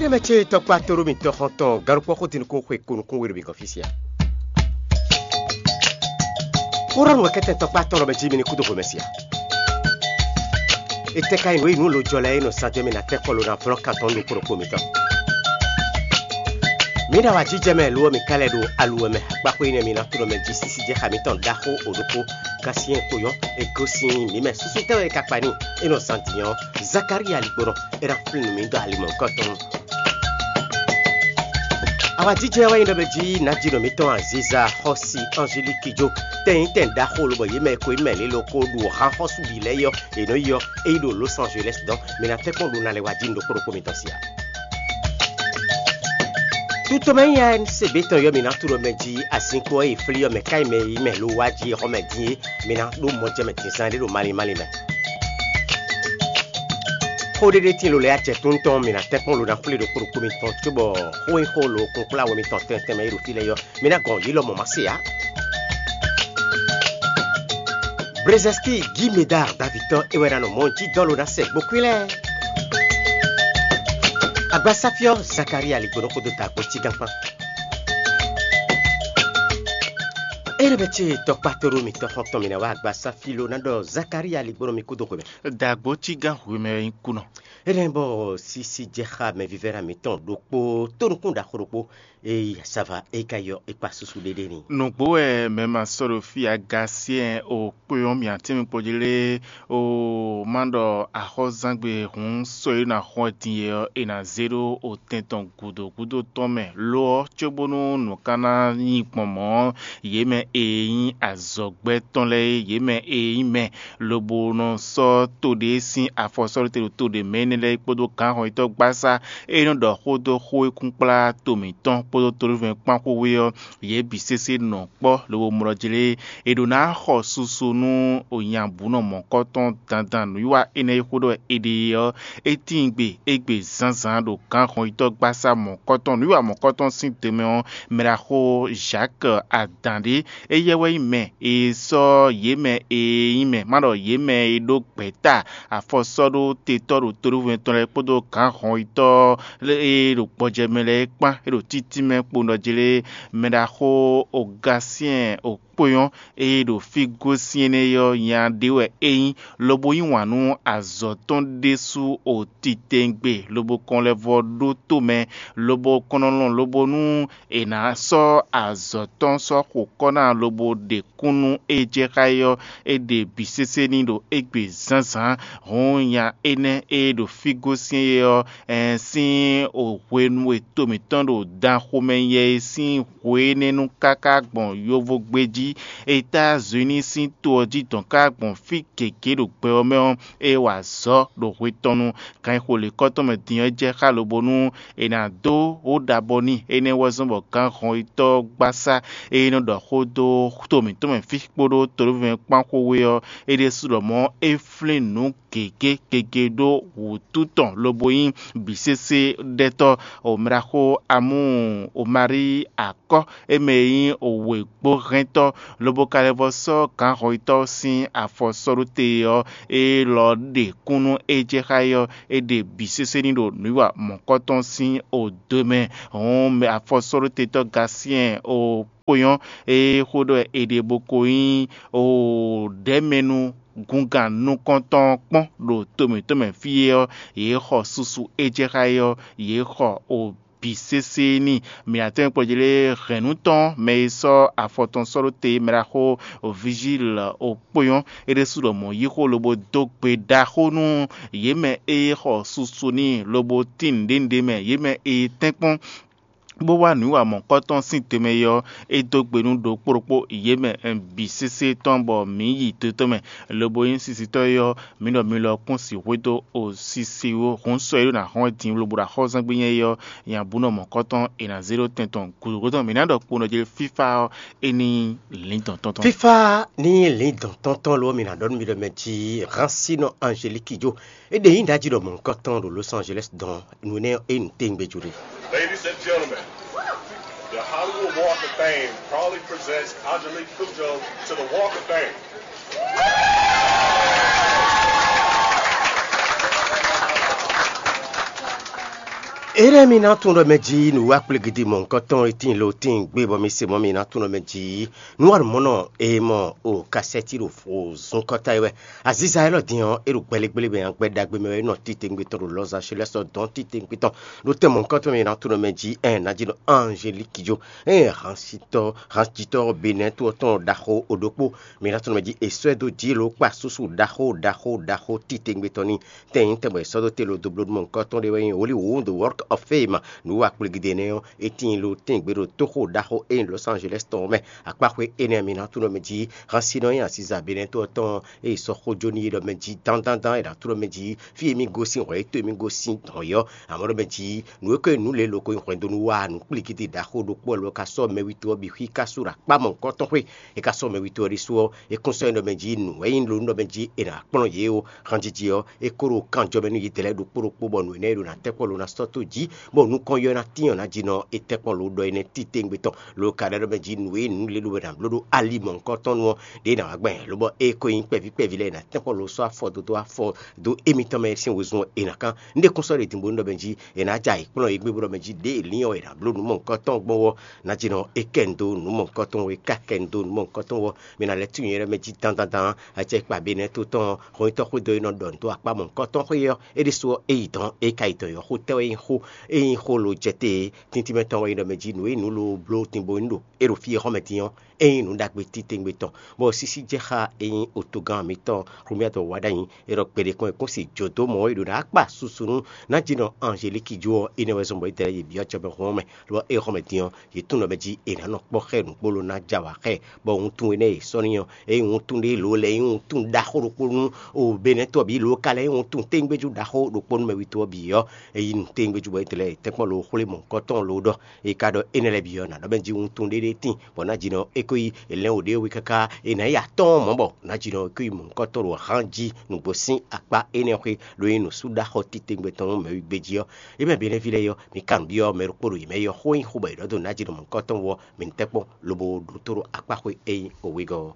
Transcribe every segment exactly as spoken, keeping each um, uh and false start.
Énɛ́ mɛ ce tɔkpá tóɖó mitɔn xɔntɔn galukpɔ́ xó din nukún xwe ko nukún we ɖo mi gɔn fí sia. Kúrɔ́nu wɛ kɛ́tɛn tɔkpá tɔn lɔ mɛ jí mi ní kúdó hwemɛ sia. Étɛ́ ka nyí nǔ e nyí nǔ lojɔ lɛ́ɛ e nɔ sa jɔ mì ná tɛ́nkpɔ́n lo ná vlɔ́ kan tɔn ɖo kpo ɖokpo mǐtɔn. Mǐ ɖo awǎjijɛ mɛ lo ɔ́, mǐ ka lɛ́ ɖo aluwɛ mɛ akpákpó énɛ́ mǐ ná tunɔ mɛ jí sísí jɛ xa mǐtɔn ɖaxó o ɖokpó. Gasiɛn kpoyɔ́ e gosín mǐ mɛ súsú tɛ́ wɛ é ka kpa n'i? É nɔ zan din ɔ́, Zakalía ligbɔnɔ é ná flín nǔ mǐ dó ali mɔ̌hunkɔtɔn. Awǎjijɛ wɛ nyí ɖɔ mɛ jí nǎjínɔ mǐtɔn Aziza xɔ́si Angeliki jó tɛnyítɛn ɖaxó lobɔ yě mɛ e ko nyí mɛ lě lɔ ko ɖu han xɔ́sú bǐ lɛ́ɛ é ɔ́, è nɔ yi ɔ́, é yi ɖo Los Angeles dɔn. Mǐ ná tɛ́nkpɔ́n ɖo ná lɛ́ wá jí nǔ ɖokpó ɖokpó mitɔn sí ǎ. Tutɔmɛ nyí A N C B tɔn yɔ mǐ ná tunɔ mɛ jí azinkpo e è flí ɔ́ mɛ ká nyí mɛ e yí mɛ lo wá jí xɔmɛ din é, mǐ ná ɖó mɔjɛmɛ dǐnzán ɖé ɖo malín málín mɛ. Xó ɖé ɖé tíin lo lɛ́ɛ acɛkún tɔn mǐ ná tɛ́nkpɔ́n lo ná xwlé ɖokpó ɖokpó mitɔn cóbɔ xó e xó lo kunkplá we mitɔn tɛntɛn mɛ e ɖo fí lɛ́ɛ ɔ́, mǐ ná gɔn yě lɔmɔ̌ má se ǎ. Brezɛski Gímedar Davitɔ́ é wɛ ná nɔ mɔ̌ jí dɔ́ lo ná sɛ gbokún lɛ́ɛ. Agbasáfyɔ́ Zakalía ligbɔnɔ kpódó dǎgbó cígán kpán. Énɛ́ bɛ́ ce tɔkpá tóɖó mitɔn xɔntɔn mǐ ná wá agbasáfí lo ná ɖɔ Zakalía ligbɔnɔ mi kúdó xwemɛ. Dǎgbó cígán hwemɛ wɛ nyí kúnɔ. Énɛ́ bɔ sísí jɛ xá mɛvívɛ́ná mǐtɔn ɖokpó tónukún ɖaxó ɖokpó e yi asava é ka yɔ é kpa susu ɖéɖé n'i. Nǔgbó wɛ mɛ ma sɔ́ ɖo fí agasyɛ́n o kpé ɔ́ mì atínmikpɔ́ jí lé o má ɖɔ axɔ́zángbé hǔn sɔ́ e ná xɔ din é ɔ́, è nǎ zé ɖó otɛn tɔn gǔdo gúdo tɔn mɛ. Lo ɔ́, cóbónú nǔ ka ná nyí gbɔn mɔ̌ ɔ́, yě mɛ e nyí azɔ̌gbɛ́ tɔn lɛ́ɛ é, yě mɛ e nyí mɛ lobo nɔ sɔ́ to ɖé sín afɔ sɔ́ ɖó te ɖo to ɖě mɛ énɛ́ lɛ́ɛ kpódó gǎnhɔnyitɔ́ gbásá e nɔ ɖɔ xó dó xó e kún kplá to mǐtɔn kpódó tolivɛn kpán xwé ɔ́, yě bǐ sésé nɔ kpɔ́ lobo mlɔ́ jlé. È ɖǒ ná xɔ susu nú onyabǔnɔ mɔ̌kɔtɔn dandan nǔwiwa énɛ́ e xó ɖɔ è ɖe é ɔ́, é tíin gbe égbé zǎnzǎn ɖo gǎnhɔnyitɔ́ gbásá mɔ̌kɔtɔn nǔwiwa mɔ̌kɔtɔn sín dɔmɛ ɔ́, mɛɖaxó Jacques Adǎn ɖé. Éyɛ́ wɛ nyí mɛ e sɔ́ yě mɛ e nyí mɛ, má ɖɔ yě mɛ e ɖó gbɛ̌ta afɔ sɔ́ ɖó tetɔ́ ɖo toɖóvɔ́ tɔn lɛ́ɛ kpódó gǎnhɔnyitɔ́ e ɖo gbɔjɛmɛ lɛ́ɛ é kpán, é ɖo títínmɛ kpo nɔ jlé mɛɖaxó Ogasyɛ́n Okpónyɔ́ e ɖo fí gosín énɛ́ ɔ́ nya ɖé wɛ é nyí, lobo yí wǎn nú azɔ̌ tɔn ɖésú o titewungbe, lobo kɔn lɛ́ vɔ ɖótó mɛ, lobo kɔn nɔ lɔn lobo nú è nǎ sɔ́ azɔ̌ tɔn sɔ́ xo kɔ́ ná lobo ɖe kún nú é jɛ xá é ɔ́, é ɖe bǐ sésé n'i ɖo égbé zǎnzǎn. Hǔn nya énɛ́ e ɖo fí gosín é ɔ́, ɛn sín o hwenu e to mǐtɔn ɖo dan xomɛ yɛ é sín hwe énɛ́ nu káká gbɔn yovo gbé jí, Etazini sín to ɔ́ jí dɔn ká gbɔn fí gěgé ɖo gbɛ ɔ́ mɛ ɔ́, é wa azɔ̌ ɖo hwe tɔn nu. Ganxixo lěkɔ́ tɔn mɛ din ɔ́ jɛ xá lobo nú è nǎ dó wó ɖabɔ n'i. Énɛ́ wɛ zɔ́n bɔ gǎnhɔnyitɔ́ gbásá e nɔ ɖɔ xó dó to mǐtɔn mɛ fí kpódó tolóvɛ́n kpán xwé ɔ́, é ɖésú ɖɔ mɔ̌ é flín nǔ gěgé gege ɖó wǔtu tɔn lobo nyí bǐ sésé ɖɛtɔ́. Omlaxó Amú Omarí akɔ́, é mɛ e nyí wěgbóhɛntɔ́, lobo ka lɛ́ vɔ sɔ́ gǎnhɔnyitɔ́ sín afɔ sɔ́ ɖó te ɔ́, é lɔ ɖe kún nú é jɛ xá é ɔ́, é ɖe bǐ sésé n'i ɖo nǔwiwa mɔ̌kɔtɔn sín odo mɛ. Hǔn mɛ afɔsɔ́ɖótetɔ́ Gasyɛ́n o kponyɔ́ e xó ɖɔ è ɖe bó ko nyí o ɖɛ̌mɛnu gungǎn nukɔntɔn ɔ́ kpɔ́n ɖo to mǐtɔn mɛ fí é ɔ́, yě xɔ susu é jɛ xá é ɔ́, yě xɔ o bǐ sésé n'i. Mǐ ná tɛ́n kplɔ́ jí lé hɛ̌nnu tɔn mɛ e sɔ́ afɔ tɔn sɔ́ ɖó te mɛ ɖaxó Vizíl o kpó nyɔ́. É ɖésú ɖɔ mɔ̌ yí xó lobo dó gbe ɖaxó nú yě mɛ e xɔ susu n'i lobo tín nǔɖé nǔɖé mɛ, yě mɛ e tɛ́nkpɔ́n bó wá nǔwiwa mɔ̌kɔtɔn sín te mɛ é ɔ́, é dó gbe nú ɖokpó ɖokpó yě mɛ bǐ sésé tɔn bɔ mǐ yi do tɔn mɛ, lobo nyí sisitɔ́ é ɔ́, mǐ ɖɔ mi lɔ kún si hwedó o sisi ó. Hǔn sɔ e ɖó ná hɔn wɛ din lobo ɖo axɔ́zɛ́ngbe nyɛ é ɔ́, nya bú nɔ mɔ̌kɔtɔn è nǎ zé ɖó tɛn tɔn gǔdo gúdo tɔn. Mǐ ná ɖɔ kpo nɔ jɛ fífá ɔ́, é ní lǐndɔn tɔn tɔn. Fífá ní lǐndɔn tɔn tɔn lo ɔ́, mi ná ɖɔ nú mi ɖɔ mɛ jí Hansino Angélique jó. É ɖe nyí ɖají ɖɔ mɔ̌kɔtɔn ɖo Los Angeles dɔn nǔ énɛ́ é nǔ téwúngbé jó ɖe. Ladies and gentlemen, the Hollywood Walk of Fame proudly presents Angelique Kidjo to the Walk of Fame. Énɛ́ mi ná tunwun ɖɔ mɛ jí nǔwiwa kplégídí mɔ̌hunkɔtɔn e tíin lo tíin gbé bɔ mi se mɔ̌ mi ná tunwun ɖɔ mɛ jí nǔwanumɔnɔ e mɔ o kasɛ́ti ɖo fo zun kɔ́ta é wɛ. Aziza élɔ́ din ɔ́, é ɖo gbɛlégbélé mɛ ǎ, gbɛ ɖagbe mɛ wɛ é nɔ titewungbe tɔn ɖo Los Angeles ɔ́ dɔn titewungbe tɔn ɖo tɛn mɔ̌hunkɔtɔn mɛ mi ná tunwun ɖɔ mɛ jí ɛn ná jí nɔ Angélique jó. Ɛn hansitɔ hansitɔ Benɛ́ to ɔ́ tɔn ɖaxó o ɖokpó mi ná tunwun ɖɔ mɛ jí è sɔ́ ɛ dó jǐ lo kpa súsú ɖaxó ɖaxó ɖaxó titewungbe tɔn n'i. Tɛn nyí tɛn bɔ è sɔ́ dó te lo dó bló nú mɔ̌hunkɔtɔn ɖé wɛ nyí Hollywood Walk of Fame. Nǔ wa kplégídé énɛ́ ɔ́, é tíin lo tɛ́ngbé ɖo tóxo ɖaxó e nyí Los Angeles tɔn ɔ́ mɛ. Akpáxwé énɛ́ ɔ́, mi ná tunwun ɖɔ mɛ jí hansinɔ e nyi aziza Benɛ́ to ɔ́ tɔn ɔ́, é yi sɔ́ xó jó n'i ɖɔ mɛ jí dándándán è nǎ tunwun ɖɔ mɛ jí fí e mì gosín hwɛ é to e mì gosín hɔn yɔ́. Amɔ̌ ɖɔ mɛ jí nǔ e ko nyí nǔ lě loko nyí hwɛndo nú wa nǔ kplíkídí ɖaxó ɖokpó wɛ lo ka sɔ́ mɛwítɔ́ ɔ́ bǐ xwí ka sú ɖo akpá mɔ̌hunkɔtɔn xwé. É ka sɔ́ mɛwítɔ́ ɔ́ ɖésú ɔ́, é kún sɔ́ nyí ɖɔ mɛ jí nǔ wɛ nyí lo nú ɖɔ mɛ jí è nǎ kplɔ́n yě ó. Hanjiji ɔ́, é ko ɖo kanjɔ mɛ nú yě dlɛ́ ɖokpó ɖokpó bɔ nǔ énɛ́ e ɖo ná tɛ́nkpɔ́n lo ná sɔ́ tó jí, bɔ nukɔn yɔ ná tín ɔ́ ná jí nɔ é tɛ́nkpɔ́n lo ɖɔ énɛ́ titewungbe tɔn. Lo ka ɖɔ ɖɔ mɛ jí nǔ e nǔ lě lo wɛ ná bló ɖó ali mɔ̌hunkɔtɔn nu ɔ́, ɖě ná wá gbɛn, lobɔ é ko nyí kpɛví kpɛví lɛ́ɛ è nǎ tɛ́nkpɔ́n lo sɔ́ afɔ dó dó afɔ dó émítɔn mɛ sín wezun ɔ́, è nǎ kán. Un ɖe kún sɔ́ ɖě din bónú ɖɔ mɛ jí è nǎ ja yǐ kplɔ́n yě gbé bó ɖɔ mɛ jí ɖěe lín ɔ́ è nǎ bló nǔ mɔ̌hunkɔtɔn gbɔn ɔ́, ná jí nɔ é kɛ nu dó nǔ mɔ̌hunkɔtɔn wɔ, é ka kɛ nu dó nǔ mɔ̌hunkɔtɔn wɔ. Mi ná lɛ́ tunwun nyɛ ɖɔ mɛ jí dandan acɛkpa Benɛ́ to tɔn ɔ́, hɔn nyitɔ́ xwé dó e nɔ ɖɔ nǔ dó akpá mɔ̌hunkɔtɔn xwé ɔ́, é ɖésú ɔ́, é yi dɔn, é ka yi dɔn yɔ̌ xó tɛ́ wɛ nyí xó? É nyí xó lo jɛ te tíntímɛ tɔn wɛ nyí ɖɔ mɛ jí nǔ e nǔ lo bló din bó nyí ɖo é ɖo fí e xɔ́ mɛ din ɔ́, é nyí nǔ ɖagbe titewungbe tɔn, bɔ sísí jɛ xá é nyí otogán mǐtɔn Xlumyádo wá ɖ'ayǐ. É ɖɔ gbeɖé kɔn e kún si jǒ dó mɔ̌ e ɖo ná kpa susu nú ná jí nɔ Angelíki jó ɔ́, énɛ́ wɛ zɔ́n bɔ é dlɛ́ yě byɔ́ acɛ mɛ hɔn mɛ, lo ɔ́, é xɔ́ mɛ din ɔ́, yě tunwun ɖɔ mɛ jí è nǎ nɔ kpɔ́ xá ɛ nǔgbó lo ná ja wǎ xá ɛ, bɔ wuntun énɛ́ e è sɔ́ n'i ɔ́, é nyí wuntun ɖé lǒ lɛ́ɛ, é nyí wuntun ɖaxó ɖokpó nú o Benɛ́ to ɔ́ bǐ, lo ka lɛ́ nyí wuntun téńgbéjú ɖaxó ɖokpó nú mɛwítɔ́ ɔ́ bǐ ɔ́, é yí nǔ téńgbéjú bɔ é dlɛ́ yě tɛ́nkpɔ́n lo xwlé mɔ̌hunkɔtɔn lo ɖɔ. È ka ɖɔ énɛ́ lɛ́ɛ bǐ ɔ́, nǎ ɖɔ mɛ jí wuntun ɖé ɖé tíin, bɔ ná jí nɔ é ko yi è lɛ́n wǒ ɖé wí káká è nǎ yi atɔ́ɔ́n mɔ̌ bɔ ná jí nɔ é ko yi mɔ̌hunkɔtɔn ɖo hán jí nǔgbó sín akpá énɛ́ xwé, ɖó nyí nǔsúɖaxɔ titewungbe tɔn nú mɛwígbé jí ɔ́. É mɛ Benɛ́ví lɛ́ɛ ɔ́, mi ka nǔ byɔ́ mɛ ɖokpó ɖo yě mɛ yi ɔ́, xó nyí xó bɔ è ɖɔ dó ná jí nɔ mɔ̌hunkɔtɔn wú ɔ́, mi ní tɛ́ kpɔ́n lobo ɖótó ɖo akpáxwé e nyí wegɔ́ ɔ́.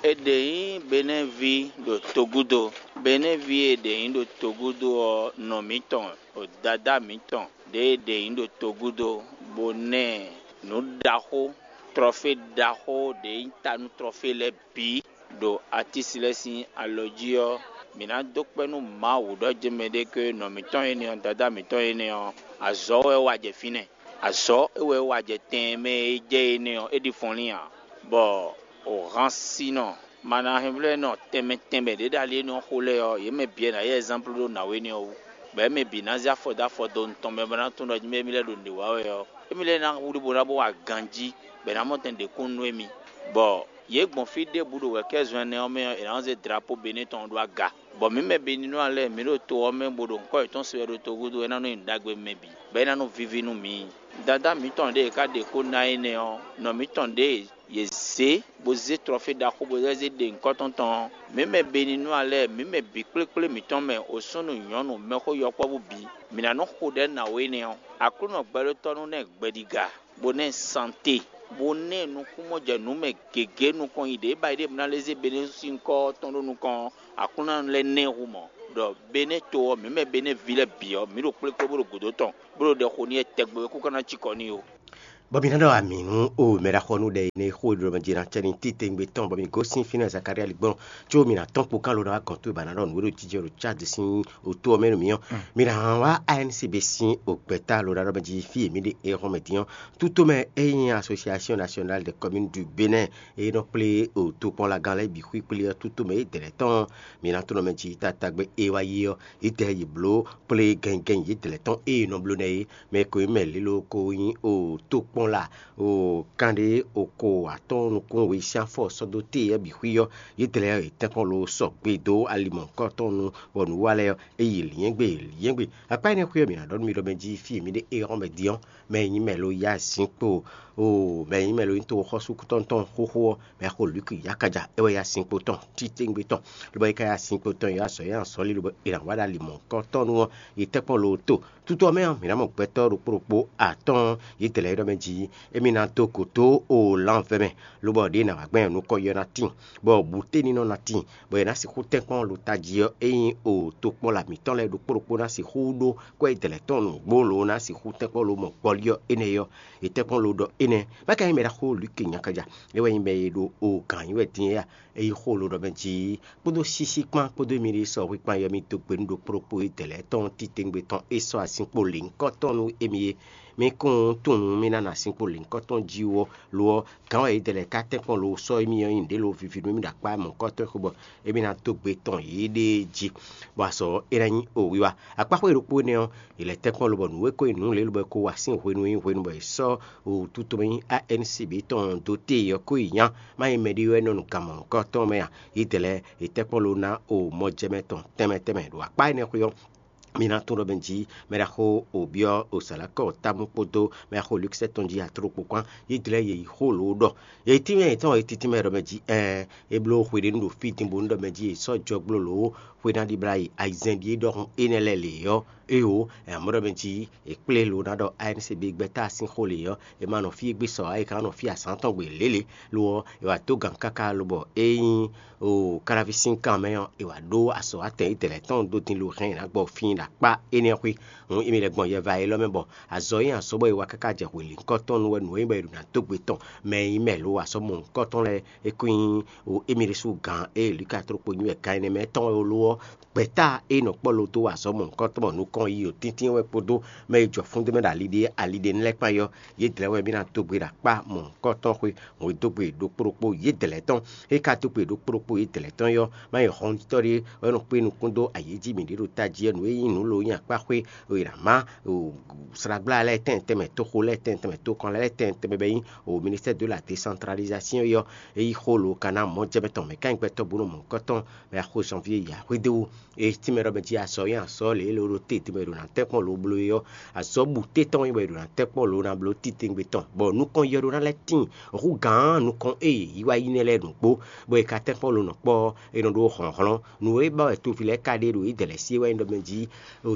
È ɖe nyí Benɛ́ví ɖo togúdo. Benɛ́ví e è ɖe nyí ɖo togúdo ɔ́, nɔ mǐtɔn, ɖo dadá mǐtɔn ɖě e è ɖe nyí ɖo togúdo, bó ná ɛ nǔ ɖaxó, trɔfé ɖaxó ɖě nyí ta nú trɔfé lɛ́ɛ bǐ ɖo atísi lɛ́ɛ sín alɔ jí ɔ́, mǐ ná dó kpɛ́ nú Mawu ɖɔ jɛ́n mɛɖé ké nɔ mǐtɔn énɛ́ ɔ́, dadá mǐtɔn énɛ́ ɔ́, azɔ̌ wɛ é wa jɛ fínɛ́. Azɔ̌ é wɛ é wa jɛ tɛn e mɛ e jɛ énɛ́ ɔ́, é ɖi fɔnlín ǎ, bɔ o hansinɔ manahɛnvlɛ́nɔ tɛnmɛ tɛnmɛ ɖě ɖo ali énɛ́ ɔ́ xo lɛ́ɛ ɔ́, yě mɛ bǐ wɛ ná yí ɛzánplu ɖó nǎwe énɛ́ ɔ́ wú, bɔ yě mɛ bǐ ná zé afɔ dó afɔ dó nutɔn mɛ bó ná tunwun ɖɔ jí mɛ émí lɛ́ɛ ɖo nǔɖé wa wɛ ɔ́, émí lɛ́ɛ ná wlí bó ná bó wa ganjí, bɔ è nǎ mɔ tɛn ɖě kún nú émí. Bɔ yě gbɔn fí ɖěbǔ ɖo wɛ̌kɛ́zɔn ɛnɛ ɔ́ mɛ ɔ́, è nǎ nɔ zé drapó Benɛ́ tɔn ɔ́ ɖó aga. Bɔ mǐ mɛ Beninúa lɛ́ɛ, mǐ ɖo to ɔ́ mɛ bó ɖo ŋkɔ́ yětɔn se wɛ ɖo togudo é ná nɔ nyí nǔ ɖagbe mɛ bǐ, bɔ é ná nɔ víví nú mǐ. Dadá mǐtɔn ɖěe è ka ɖe xó ná énɛ́ ɔ́, nɔ mǐtɔn ɖěe yě zě bó zé trɔfé ɖaxó bó zé ɖe ŋkɔ́ tɔn tɔn ɔ́, mǐ mɛ Beninúa lɛ́ɛ, mǐ mɛ bǐ kplékplé mǐtɔn mɛ, osúnnu, nyɔ̌nu, mɛxó, yɔkpɔ́vú bǐ, mǐ ná nɔ xo ɖɛ̌ ná wú énɛ́ ɔ́. Aklúnɔ gbɛɖótɔ́ nú ná ɛ gbɛɖiga, bó ná ɛ sante, bó ná ɛ nukúnmɔjɛnǔmɛ gěgé nukɔn nyi ɖě ba yi ɖe mǐ ná lɛ́ zé Benɛ́ sín ŋkɔ́ tɔn ɖó nukɔn ɔ́, Aklúnɔ lɛ́ ná ɛ hu mɔ̌, ɖɔ Benɛ́ to ɔ́, mǐ mɛ Benɛ́ ví lɛ́ɛ bǐ ɔ́, mǐ ɖo kplé kplé bó ɖo gǔdo tɔn, bó ɖo ɖɛ xo n'i wɛ tɛgbɛ wɛ kú ka ná cikɔ n'i ó. Bɔ mi ná ɖɔ amǐ nú o mɛ ɖaxɔnú ɖɛ énɛ́ e xó e ɖo mɛ jɛ ná cɛ ní titewungbe tɔn, bɔ mi gosín fínɛ́ Zakaria ligbɔn, có mi ná tɔ́n kpo kán lo ná wá gɔ̌n towe ba ná ɖɔ nǔ e ɖo jijɛ ɖo Cádi sín otó ɔ́ mɛ nú mi ɔ́. Mi ná wá A N C B sín o gbɛ̌ta lo ná ɖɔ mɛ jí fí e mǐ ɖe é hɔn mɛ dín ɔ́. Tútomɛ e nyí Association Nationale des Communes du Bénin e nɔ kplé o tokpɔnlagán lɛ́ɛ bǐ xwíkplé ɔ́, tútomɛ e dɛ̌ lɛ́ɛ tɔn ɔ́, mi ná tunɔ mɛ jí tatagbe e wá yi ɔ́, yi dɛ̌ yi blǒ kplé gɛngɛn yi dɛ̌ lɛ́ɛ tɔn e nɔ bló nɛ́ é. Mɛ ko nyí mɛ lílo ko nyí o tokpɔnla o kanɖé o ko atɔ́ɔ́n nukún we sín afɔ sɔ́ dó te ɔ́ bǐ xwí ɔ́, yě dlɛ́ yě tɛ́nkpɔ́n lo sɔgbe dó ali mɔ̌hunkɔtɔn nu, bɔ nǔ wa lɛ́ɛ ɔ́, é yi lyɛ́ngbé lyɛ́ngbé. Akpá énɛ́ xwé ɔ́, mǐ ná ɖɔ nú mi ɖɔ mɛ jí fí e mǐ ɖe é hɔn mɛ din ɔ́, mɛ e nyí mɛ lo yá zinkpo o mɛ e nyí mɛ lo nyí toxɔ́súkútɔ́ tɔn xóxó ɔ́, mɛ xo Luki yákaja é wɛ yá zinkpo tɔn titewungbe tɔn, lobɔ é ka yá zinkpo tɔn yá azɔ̌ yá azɔ̌ lí lobɔ è nǎ wá ɖo ali mɔ̌hunkɔtɔn nu ɔ́, yě tɛ́nkpɔ́n lo to. Tutɔ mɛ ɔ́, mǐ ná mɔ gbɛtɔ́ ɖokpó ɖokpó atɔ́ɔ́n, yě dlɛ́ yě ɖɔ mɛ jí jí émí ná dó gǒ dó o lanvɛ́ mɛ, lobɔ ɖěe nǎ wá gbɛn nukɔn yɔ ná tíin, bɔ bǔténinɔ ná tíin, bɔ è nǎ sixú tɛ́nkpɔ́n lo tají ɔ́, é nyí o tokpɔ́la mǐtɔn lɛ́ɛ ɖokpó ɖokpó ná sixú ɖó kwɛ́ dlɛ̌ tɔn nǔgbó lo ná sixú tɛ́nkpɔ́n lo mɔ gbɔlí ɔ́ énɛ́ ɔ́. È tɛ́nkpɔ́n lo ɖɔ énɛ́, má ka nyí mɛ ɖaxó Lwíke nyakaja, é wɛ nyí mɛ e ɖo o gǎn nyi wɛ din é a? É yí xó lo ɖɔ mɛ jí kpódó sísí kpán kpódó émí ɖé sɔxwí kpán yɔ mì dó gbe nú ɖokpó ɖokpó e dɛ̌ lɛ́ɛ tɔn titewungbe tɔn é sɔ́ asínkpo lěhunkɔtɔn nú émí é. Mi kún tunwun mì ná nɔ asínkpo lěhunkɔtɔn jí wú ɔ́, lo ɔ́, gǎn wɛ yědɛɛ lɛ́ɛ ka tɛ́nkpɔ́n lo sɔ́ émí ɔ́ nyi nǔɖé lo viví nú émí ɖo akpá mɔ̌hunkɔtɔn xwé bɔ émí ná dó gbe tɔn yěɖée jí, bɔ azɔ̌ ɔ́, é ná nyí o wiwa. Akpáxwé ɖokpó énɛ́ ɔ́, è lɛ́ tɛ́nkpɔ́n lobɔ nǔ e ko nyí nǔ lě lobɔ é ko wa sín hwenu e nyí hwenu bɔ è sɔ́ wǔtútomɛ nyí A N C B tɔn dó te é ɔ́ ko yi nya. Má nyí mɛɖé wɛ nɔ nu gan mɔ̌hunkɔtɔn mɛ a? Yědɛɛ lɛ́ɛ è tɛ́nkpɔ́n lo ná o mɔjɛmɛ tɔn tɛnmɛ tɛnmɛ ɖo akpá énɛ́ xwé ɔ́. Mi ná tunwun ɖɔ mɛ jí mɛ ɖaxó Obyɔ́ Osalakɔ Támu kpódó mɛ ɖaxó Lukisɛ́ tɔn jí atló kpó kpán. Yědɛɛ lɛ́ɛ yě yi xó lǒ ɖɔ yě tínmɛ yětɔn yě títínmɛ ɖɔ mɛ jí ɛɛ é bló xwe ɖé nú ɖo fí din bónú ɖɔ mɛ jí è sɔ́ jɔgblo lǒ xwe ná ɖibla yi ayizɛ́n ɖíe ɖɔhun énɛ́ lɛ́ɛ lě ɔ́, éeǒ, è nǎ mɔ ɖɔ mɛ jí è kplé lo ná ɖɔ A N C B gbɛ́ta sín xó lě ɔ́, è ma nɔ fí e gbé sɔ ǎ, è ka nɔ fí azǎn tɔn gbe lělě. Lo ɔ́, è wǎ dó gan káká lobɔ é nyí o káláví sín kan mɛ ɔ́, è wǎ ɖó azɔ̌ atɛn yědɛɛ lɛ́ɛ tɔn dó din lo hɛn è nǎ gbɔ fín ɖo akpá énɛ́ xwé. Hǔn émí lɛ́ gbɔn yɛva élɔ́ mɛ bɔ azɔ̌ e nyí azɔ̌ bɔ è wa káká jɛ hwelǐnkɔ́tɔn nu wɛ nǔ e nyí bɔ è ɖǒ ná dó gbe tɔn mɛ e nyí mɛ lo azɔ̌ mɔ̌hunkɔtɔn lɛ́ɛ é ko nyí o émí ɖésú gǎn e Luka tlokpo nyi wɛ gǎn énɛ́ mɛ tɔn wɛ ó lo ɔ́, gbɛ̌ta e nɔ kpɔ́ lo dó wa azɔ̌ mɔ̌hunkɔtɔn bɔ nukɔn yi o tíntín wɛ kpódó mɛ e jɔ fúndú mɛ ɖo ali ɖé ali ɖé lɛ́ɛ kpán yi ɔ́, yědɛɛ wɛ mì ná dó gbe ɖo akpá mɔ̌hunkɔtɔn xwé hǔn e dó gbe ɖokpó ɖokpó yědɛɛ lɛ́ɛ tɔn. É ka dó gbe ɖokpó ɖokpó yědɛɛ lɛ́ɛ tɔn yi ɔ́, má nyí hɔnjítɔ́ ɖé wɛ nɔ kpé nukún dó ayǐ jí mǐ ɖe ɖo tají ɔ́, nǔ e nyí nǔ lo nyí akpáxwé e è nǎ má slágbla lɛ́ɛ tɛnmɛ tɛnmɛ, toxo lɛ́ɛ tɛnmɛ tɛnmɛ, tokɔnla lɛ́ɛ tɛnmɛ tɛnmɛ bɔ é nyí o ministère de la décentralisation yi ɔ́, é yí xó lo ka ná mɔ̌ jɛ mɛ tɔn mɛ ká nyí gbɛtɔ́ bó nɔ mɔ̌hunkɔtɔn mɛ axó janvier yi axwédéwu. E tínmɛ ɖɔ mɛ jí azɔ̌ nyi azɔ̌ lě e lo ɖo te tínmɛ ɖo ná tɛ́nkpɔ́n lo bló é ɔ́, azɔ̌ bǔté tɔn wɛ nyí bɔ è ɖo ná tɛ́nkpɔ́n lo ná bló titewungbe tɔn, bɔ nukɔn yɔ ɖó ná lɛ́ tíin hú gǎn nukɔn e yě yi wá yi nɛ́ lɛ́ɛ nǔgbó, bɔ è ka tɛ́nkpɔ́n lo nɔ kpɔ́ ɔ́, è nɔ ɖó hlɔ̌nhlɔ́n. Nǔ e ba wɛ toví lɛ́ɛ ka ɖe ɖo yědɛɛ lɛ́ɛ sí é wá nyí ɖɔ mɛ jí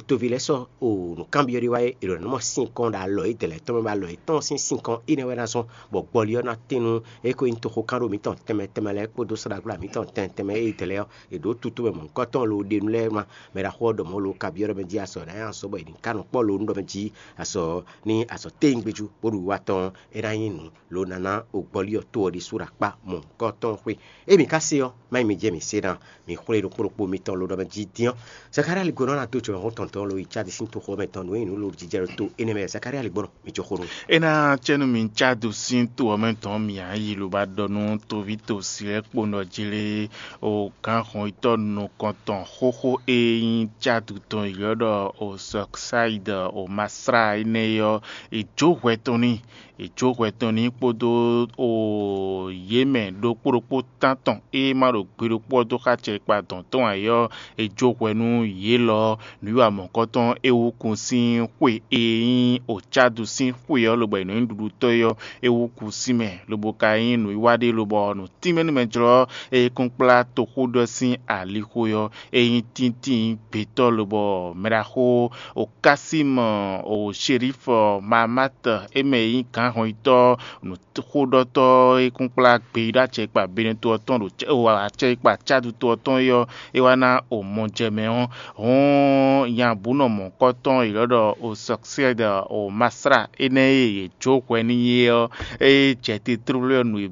toví lɛ́ɛ sɔ́ o nǔkanbyɔ́ ɖé wá é, è ɖo ná mɔ sínkɔn ɖo alɔ yědɛɛ lɛ́ɛ tɔn mɛ, bɔ alɔ yětɔn sín sínkɔn énɛ́ wɛ ná zɔ́n, bɔ gbɔlí ɔ́ ná tín nú é ko nyí toxokánɖó mǐtɔn tɛnmɛ tɛnmɛ lɛ́ɛ kpódó slágbla mǐtɔn tɛnmɛ tɛnmɛ e yědɛɛ lɛ́ɛ ɔ́, è ɖǒ tutú mɛ mɔ̌hunkɔtɔn lo ɖe nú lɛ́ɛ wá. Mɛ ɖaxó ɔ́ ɖɔ mɔ̌ lo kabyɔ́ ɖɔ mɛ jí azɔ̌ ná nyí azɔ̌ bɔ è nǐ ká nɔ kpɔ́ lo nú ɖɔ mɛ jí azɔ̌ ní azɔ̌ téyín gbéjú bó ɖo wiwa tɔn ɔ́, é ná nyí nǔ lo ná ná o gbɔlí ɔ́ tó ɔ́ ɖésú ɖo akpá mɔ̌hunkɔtɔn xwé. Émi ka se ɔ́, má nyí mi jɛ mǐ se ná, mǐ xwlé ɖokpó ɖokpó mitɔn lo ɖɔ mɛ jí dín ɔ́. Zakaria ligbɔnɔ ná dó jɔ hɔn tɔn tɔn lo yi cádi sín toxo mɛ tɔn nǔ e nyí nǔ lo jijɛ ɖo to énɛ́ mɛ Zakaria ligbɔnɔ mi jɔ xó nú. É ná cɛ́ nú mi cádu sín to ɔ́ mɛ tɔn mǐ á yi loba ɖɔ nú toví tosi lɛ́ɛ kpo nɔ jlé o gǎnhɔnyitɔ́ nukɔntɔn xóxó e nyí cádu tɔn ylɔ́ ɖɔ o sɔksáid o masra énɛ́ ɔ́, è jó hwɛ tɔn n'i. È jó hwɛ tɔn n'i kpódó o yě mɛ ɖokpó ɖokpó tántɔn e ma ɖo gbe ɖokpó ɔ́ dó xá acɛkpa dɔn tɔn ǎ é ɔ́, è jó hwɛ nú yě lɔ. Nǔwiwa mɔ̌hunkɔtɔn é wú kun sín xwe e nyí o cádu sín xwe ɔ́, lobɔ è nɔ nyí ɖuɖutɔ́ é ɔ́, é wú kun sín mɛ, lobo ka nyí nǔwiwa ɖé lobɔ nǔ tínmɛ nú mɛ jlɔ́ e kún kplá toxóɖɔ sín alixo ɔ́, é nyí tíntín gbětɔ́ lobɔ mɛɖaxó o Kasímɔ o Sherifɔ Mamat é mɛ e nyí gǎnhɔnyitɔ́ nǔxóɖɔtɔ́ e kún kplá gbeyíɖɔ acɛkpa Benɛto ɔ́ tɔn ɖo acɛkpa cádu to ɔ́ tɔn é ɔ́, é wá ná o mɔ jɛ mɛ ɔ́, hɔn nya bǔ nɔ mɔ̌hunkɔtɔn è lɔ́ ɖɔ o sɔksyɛ́d o masra énɛ́ e yě jó hwɛ n'i é ɔ́, é jɛ te tlóló ɔ́ nu e